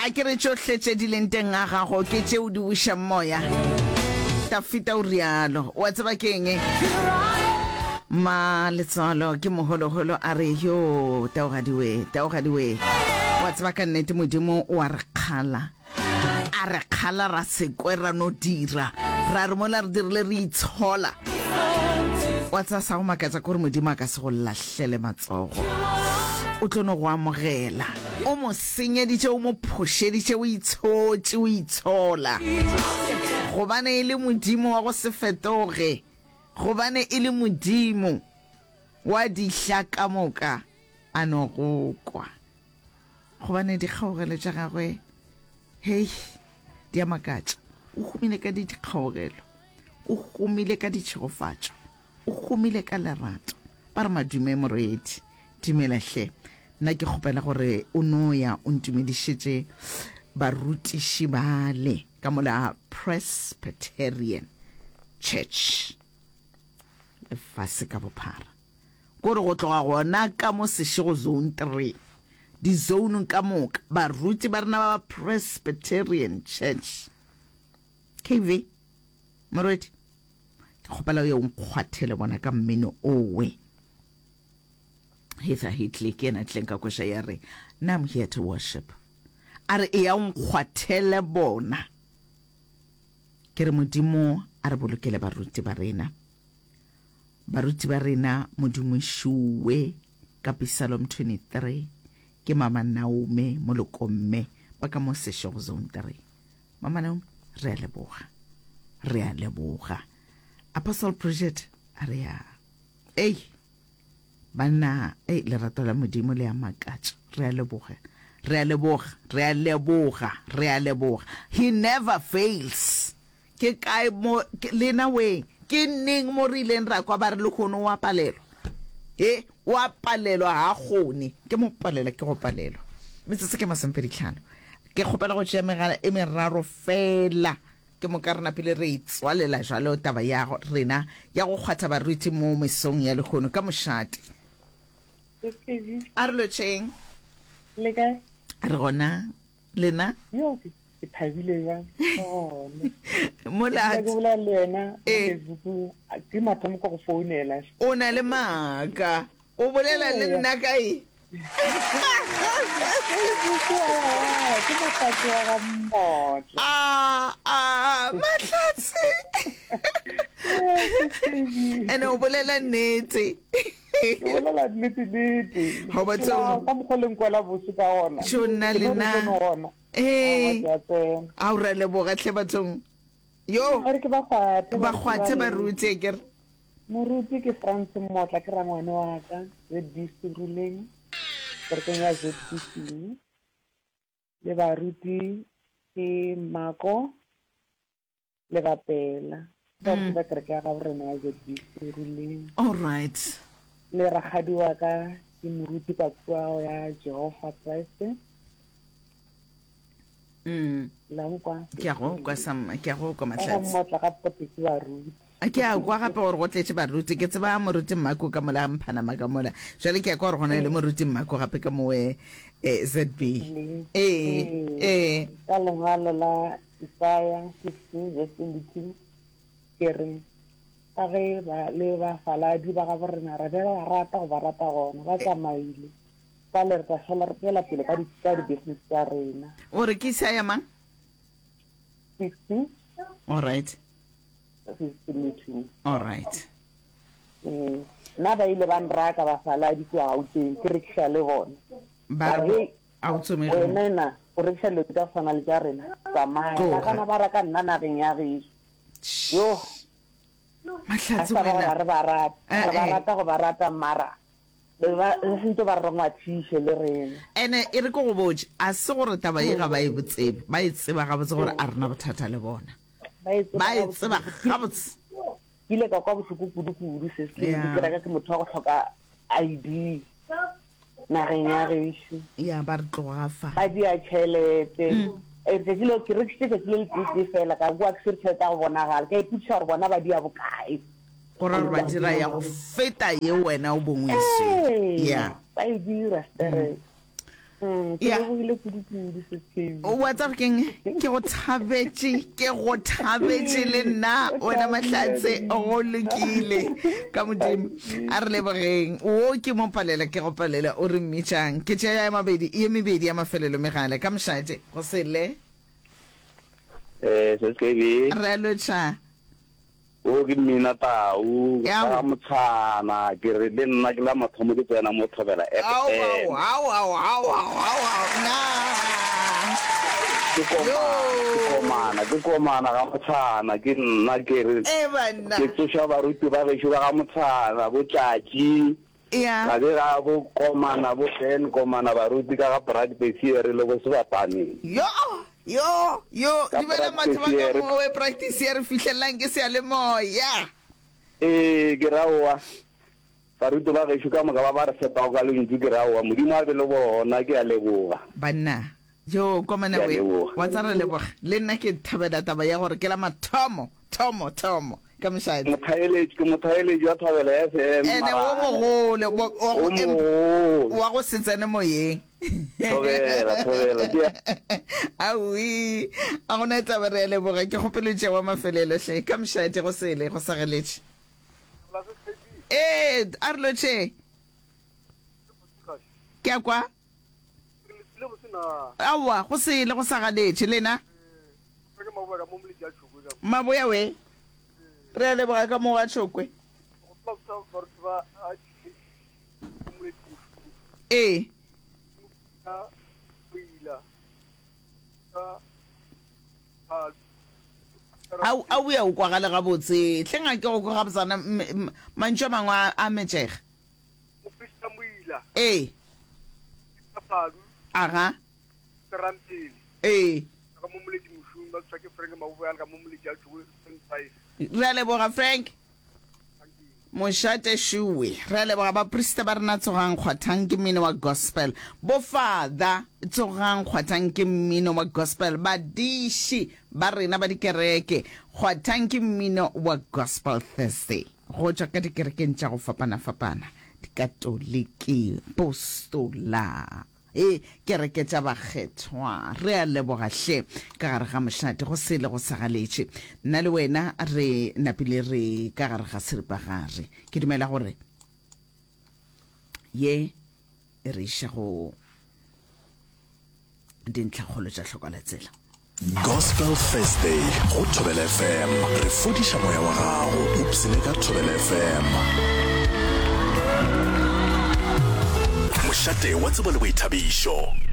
A ke re tšohle tše di leng teng ga gago ke tše o di bušang moya. Tafita o rialo. Wa tseba ke eng? Ma letswalo ke moholoholo a re yo taogadi we, taogadi we. Wa tseba ka nnete Modimo o a re kgala. A re kgala ra se kwe ra no dira. Ra re mola re dirile re itshola. Wa tseba sa go makatša ke gore Modimo a ka se go lahlele matsogo. O tlo no go amogela. O mo senyeditše, o mo phošeditše, o itshotše, o itshola. Gobane e le Modimo wa go se fetoge, gobane e le Modimo wa dihla ka moka, a no go kwa. Gobane dikgaogelo tša gagwe, hei, di a makatša. O humile ka dikgaogelo, o humile ka ditšhegofatšo. O humile ka lerato. Ba re madume morwedi. Dumela hle. Nna ke kgopela gore o no ya o ntumedišetše barutiši bale ka mola Presbyterian Church lefase ka bophara. Kore go tloga gona ka mo Seshego Zone 3, dizounung ka moka, baruti ba rena ba ba Presbyterian Church. KV, Morwedi. Ke kgopela o ye o nkgwathele bona ka mmino owe. Heather Hitley ke yena tleng ka koša ya re, Now I'm here to worship. A re eya o nkgwathele bona. Ke re Modimo a re bolokele baruti ba rena. Baruti ba rena Modimo šuwe ka Psalm 23 ke Mama Naume Molokomme ba ka mo Seshego Zone 3. Mama Naomi, re a leboga. Re a leboga. Apostle Bridget, a re ya. Ei, banna, ei, lerato la Modimo le a makatša. Re a leboga. Re a leboga. Re a leboga. Re a leboga. He never fails. Ke kae mo, lena weng, ke neng mo re ileng ra kwa ba re lehono o a palelwa? He, o a palelwa, ga a kgone. Ke mo palela, ke go palelwa. Metsotso ke masomepeditlhano. Ke kgopela go tšea megala e meraro fela, ke moka re napile re e tswalela jwalo taba ya rena ya go kgwatha baruti mo mesong ya lehono ka mošate. A re lotšheng. Le kae? Re gona. Lena? Yo, ke ke thabile jang gone. Mola Ke bolela le wena mo eh. Facebook, ke mathomo ka go founela. O na le maaka. O bolela le nna ka e? Facebook ke Mahlatse wa ga Mmotla. Ah, ah, Mahlatse. Ene o bolela nnete. Ke bolela nnete nnete. Ga ba tseo. Ka mokgwa le nkwela bose ka gona. Tšo nna le nna. Ee. A o ra leboga tlhe bathong. Yo. Re ke ba kgwathe. Ba kgwathe ba rute ke re. Moruti ke France Mmotla ke rangwane wa ka ZBC Ruleng kerekeng ya ZBC le baruti ke Mako le bapela baruti ba kereke ya gabo rena ya ZBC Ruleng. All right. Le rakgadi wa ka ke moruti ka kua ya Jehovah Christ. Mm. La nkwa. Ke a go kwa sam, ke a go kwa Mahlatse. Ka motla ga pote ke baruti. Ke a kwa gape gore go tletše baruti. Ke tseba moruti Mmako ka mola Mphanama ka mola. Jwale ke a kwa gore go na le moruti Mmako gape ka mowe eh, ZB. Ee, ee. Ka lengwalo la Isaya 60 verse 22 ke re ka ge ba le bafaladi ba gabo rena re be ba rata go ba rata gona ba tsamaile bjale re tla šala re tšwela pele ka di ka di-business tša rena. O re ke Isaya mang? 60. All right. Verse 22. All right. Ee, nna ba ile ba nraka bafaladi kua Gauteng ke rekiša le bona. Ba re A o tsomege mo. Wena o rekiša dilo tša go swana le tša rena. Tsamaya. Tloga. Nagana ba raka nna nageng ya gešo. Yo. Mahlatse Ga sa ba wena. gore re ba rata. Eh, Re ba eh. rata go ba rata mara be ba re sentse ba re ngwathiše le rena. Ene e re ke go botše, a se gore taba ye ga ba e tsebe, ba e tseba gabotse gore a rena bothata le bona. Ba e tseba Ba e gabotse. tseba gabotse. Ke ile ka kwa bohloko kudu-kudu se se Yeah. ke reka ke motho wa go hloka ID. nageng ya gešo. Ya ba re tloga fa. Ba dia tšhelete. Eh, Letšatši leo ke rekišitše tšatši le letee fela ka kwa ke swere tšhelete ya go bonagala. Ka ipotšiša gore bona ba dia bokae. Go ra gore ba dira ya go feta ye wena o bong o e swere. Ee, Ya. ba e dira sterek. Mm, ke lebogile kudu-kudu Seskebi. Wa tseba keng? Ke go thabetše, ke go thabetše le nna wena Mahlatse, go lokile ka Modimo. A re lebogeng. Wo ke mo palela, ke go palela, o re mmitšang. Ke tšea ya mabedi, ye mebedi ya mafelelo megala ka mošate go sele. Eh, Seskebi. Re a lotšha. O ke mmina tau, ka motshana, ke re le nna ke la mathomo ke tsena mo Thobela FM. Ao, ao, ao, ao, ao, ao, ao, na. Ke komana, ke komana, ke komana ga motshana, ke nna ke re. E banna. Ke tsoša baruti ba gešo ba ga motshana, bo Tšatši. Ya. Ga be ga bo Komana, bo Ben Komana, baruti ka ga Practice re le bo Sebapaneng. Yo! Yo! Yo! Dumela batho ba ka mowe practice ya re fihlelelang ke seyalemoya. Ee, ke ra oa. Baruti ba gešo ka moka ba ba re fepago ka lentšu ke ra oa. Modimo a be le bona, ke a leboga. Banna, yo Komana we, wa tsa re leboga. Le nna ke thabela taba ya gore ke la mathomo, thomo, thomo. Ka mošate. Mothaeletši, ke mothaeletši wa Thobela FM. Ene wo mogolo, wo, wa go, mogolo. Wa go se tsene moyeng. Thobela, thobela, ke ya. Aowi, a gona taba re a leboga. Ke kgopelo tšea wa mafelelo hle. Ka mošate go sele, go sageletše. Ee, a re lotšhe. Ke a kwa. Aowa, go sele, go sagaletše. Lena? Maboya we. Re a leboga ka mo ga Tšhokwe. Ee. A a o ya o kwagale gabotse. Hleng a ke go kwa gabotsana mantšu a mangwe a metšega. Ee. Aga. Ee. Re a leboga Frank. Mošate šuwe. Re a leboga baprista ba rena tsogang kgwathang ke mmino wa gospel. Bo father tsogang kgwathang ke mmino wa gospel. Badiši ba rena ba dikereke kgwathang ke mmino wa gospel Thursday. Go tšwa ka dikerekeng tša go fapana-fapana, Dikatoliki, Postola. Ee, kereke tša bakgethwa. Re a leboga hle. Ka gare ga mošate, go sele go sagaletše. Nna le wena re napile re ka gare ga seripagare. Ke dumela gore ye e re iša go dintlhakgolo tša hlokalatsela. Gospel Thursday go Thobela FM. Re fodiša moya wa gago. Ipshine ka Thobela FM. Mošate wa tsebo le boithabišo.